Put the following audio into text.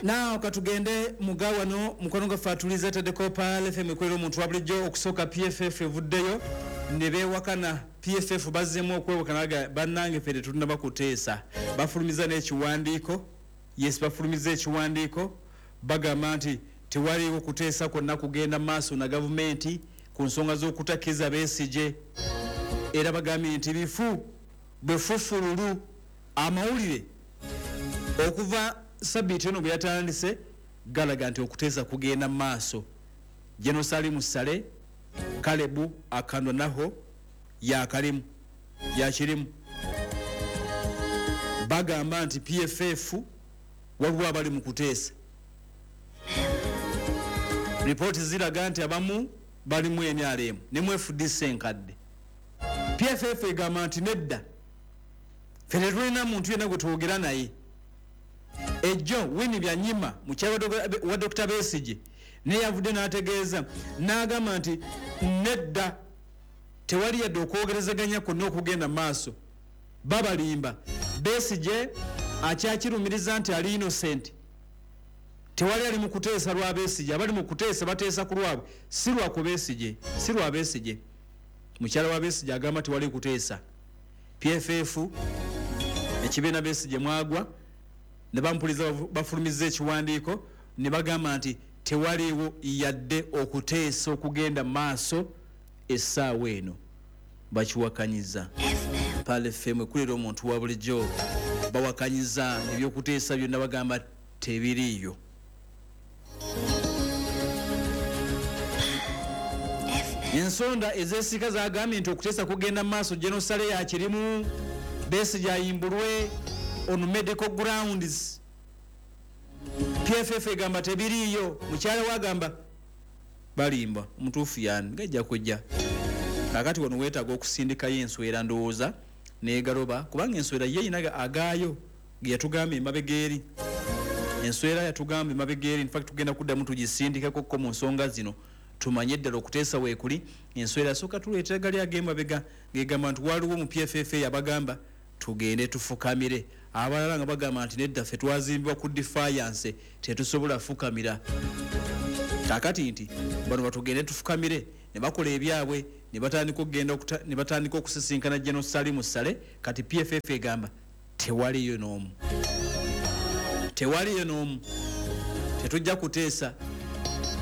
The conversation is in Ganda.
Naawe katugende mugawano mukwano gwaffe atuliza taddeko Pearl FM ekolera omuntu wa bulijjo. Okusooka PFF evuddeyo ne beewakana. PFF bazzeemu okwewakana, bannange ffe tetunnaba kuteesa. Bafulumiza n'ekiwandiiko. Yes, bafulumiza ekiwandiiko, bagamba nti tewaliiwo kuteesa kwonna kugenda maaso na gavumenti ku nsonga z'okutakkiriza Besigye, era bagambye nti bifu bwefufululu. Amawulire okuva sabiiti eno bwe yatandise galaga nti okuteesa kugenda maaso. General Salim Saleh, Kalebu Akandwanaho yakalimu yakirimu. Bagamba nti PFF waliwo abali mu kuteesa. Ripooti ziraga nti abamu bali mu NRM ne mu FDC enkadde. PFF egamba nti nedda, ffe tetulina muntu yenna gwe twogera naye. Ejjo Winnie Byanyima, mukyala wa Dr Besigye, naye yavudde n'ategeeza n'agamba nti nedda, tewali yadde okwogerezeganya kwonna okugenda maaso, babalimba. Besigye akyakirumiriza nti ali innocent, tewali ali mu kuteesa lwa Besigye, abali mu kuteesa bateesa ku lwabwe, si lwa ku Besigye, si lwa Besigye. Mukyala wa Besigye agamba tewali kuteesa. PFF ekibiina Besigye mwagwa ne bamupuliza bafulumiza ekiwandiiko ne bagamba nti tewaliiwo yadde okuteesa okugenda maaso essaawa eno, bakiwakanyiza. Pearl FM ekulira omuntu wa bulijjo, bawakanyiza ebyokuteesa byonna, bagamba tebiriiyo. Ensonda ezesika zagambye nti okuteesa kugenda maaso, General Saleh yakirimu, Besigye ayimbulwe on medical grounds. PFF egamba tebiriiyo, mukyala we agamba balimba. Omutuufu yani gajja kujja. Kakati wano weetaaga okusindikayo enswera, ndowooza negaloba, kubanga enswera ye erina agaayo ge yatugamba emabega eri. Enswera yatugamba emabega eri, infact tugenda kuddamu tugisindikako mu nsonga zino tumanye ddala okuteesa weekuli. Enswera asooka tuleetera gali ag'emabega ng'egamba nti waliwo mu PFF abagamba tugende tufukamire, abalala nga bagamba nti nedda, ffe twazimbibwa ku defiance, tetusobola fukamira. Kakati nti bano batugende tufukamire, ne bakola ebyabwe ne batandika okugenda ne batandika okusisinkana General Salim Saleh. Kati PFF egamba tewaliyo n'omu, tewaliyo n'omu, tetujja kuteesa.